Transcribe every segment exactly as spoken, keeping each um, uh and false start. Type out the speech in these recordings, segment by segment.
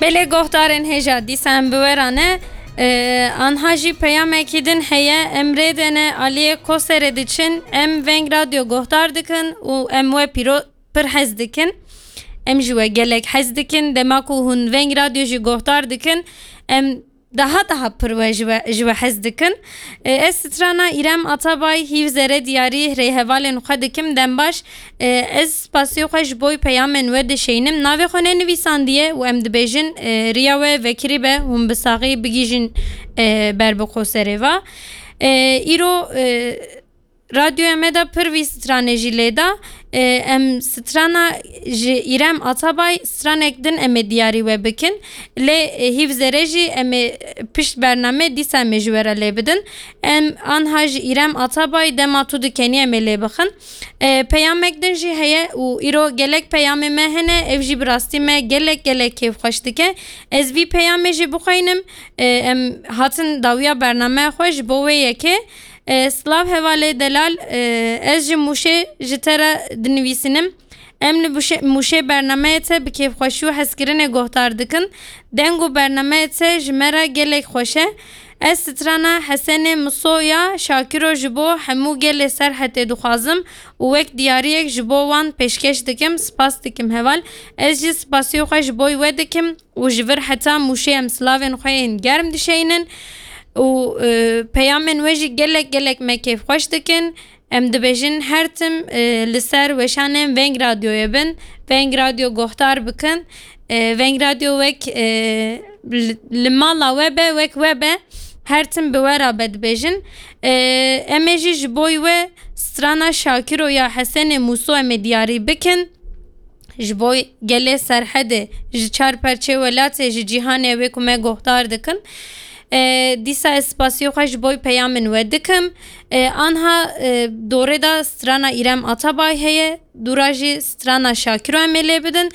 Belê guhdarên hêja, dîsa em bi we re ne. Ee, anha jî peyamekî din heye, em rê de ne, aliyê Koserê diçin, em Veng Radyo guhdar dikin û em we pîro-, pir hez dikin. Em ji we gelek hez dikin. Dema ku hûn Veng Radyo jî guhdar dikin, em daha daha pir we ji we, ji we hez dikin. E, ez strana Îrem Atabay, hîv zere diyarî rêhevalên xwe dikim. Dem baş. E, ez spasiyê xwe ji bo peyamên we dişeynim. Navê xwe nenivîsandiye û em dibêjin, e, riya we vekirî be, hûn bi saxî bigihîjin, e, ber bi Koserê ve. E, îro, e, Radyoya me de pir vî stranê jî lê da. E, em strana ji Îrem Atabay, stranek din em ê diyarî we bikin. Lê, e, hîv zere jî em ê pişt bername dîsa em ê ji we re lê bidin. Em anha ji Îrem Atabay, Dema tu dikenî, em ê lê bixin. E, peyamek din jî heye û îro gelek peyamê me hene. Ev jî bi rastî me gelek gelek kêfxweş dike. Ez vî peyamê jî bixweynim. E, em hatin dawiya bernameya xwe ji bo wê yekê. E, silav hevalê delal, e, ez ji Mûşê ji te re dinivîsînim. Em li Mûşê, Mûşê bernameyê te bi kêfxweşî û hezkirinê guhdar dikin. Deng û bernameyê te ji me re gelek xweş e. Ez strana Hesenê Miso ya Şakiro ji bo hemû gelê Serhetê dixwazim û wek diyariyek ji bo wan pêşkeş dikim. Spas dikim heval. Ez jî spasiyê xwe ji bo we dikim. û ji vir heta Mûşê em silavên xwe yên germ dişeynin û, e, peyamên we jî gelek gelek me kêfxweş dikin. Em dibêjin her tim, e, li ser weşanên Veng Radyoyê bin, Veng Radyo guhdar bikin. E, Veng Radyo wek, e, li, li mala we be, wek we be, her tim bi we re be dibêjin. E, em ê jî ji bo we strana Şakiro ya Hesenê Mûso em ê diyarî bikin. Ji bo gelê Serhedê, ji çar perçê welatê, ji cîhanê wê ku me guhdar dikin. E, dîsa ez spasiyê xwe ji bo peyamên we dikim. E, anha, e, dorê de strana Îrem Atabay heye, dûra jî strana Şakiro em ê lê bidin.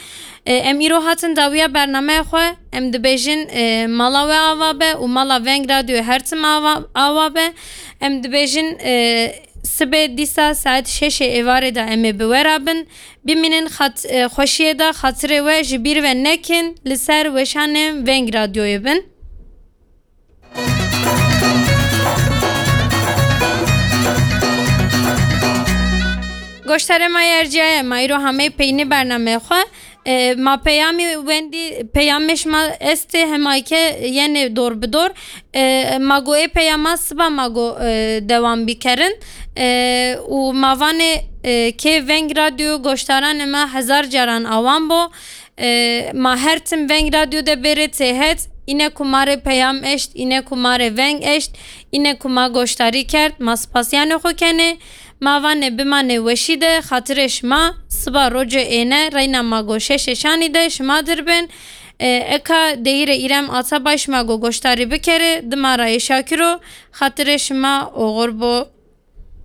E, em îro hatin dawiya bernameya xwe, em dibêjin, e, mala we ava be û mala Veng Radyoyê her tim ava, ava be. Em dibêjin, e, sibê dîsa saet şeşê êvarê de em ê bi we re bin. Bimînin xat-, e, xweşiyê de, xatirê we ji bîr ve nekin, li ser weşanên Veng Radyoyê bin. Goştarê ma yê erciyaye, ma îro hameyî peynî bernameyê xwe. E, ma peyamî wendî, peyamê şima estê, hema ke yenê dor bi dor. E, ma go ê peyama siba ma go, e, dewam bikerin. E, û ma vanê, e, kê Veng Radyo goştaranê me hezar caran awan bo. E, ma her tim Veng Radyo de bêrê têhet, îne ku ma rê peyam eşt, îne ku ma rê veng eşt, îne ku ma goştarî kerd, ma spasiyanê xwe kenê. Ma vanê bimanê weşî de, xatirê şima, siba rocê êne, reyna ma go şeşê şanî de şima dir bin. E, eka deyîrê Îrem Atabay şima go goştarî bikerê, dima rayê Şakiro, xatirê şima oxir bo.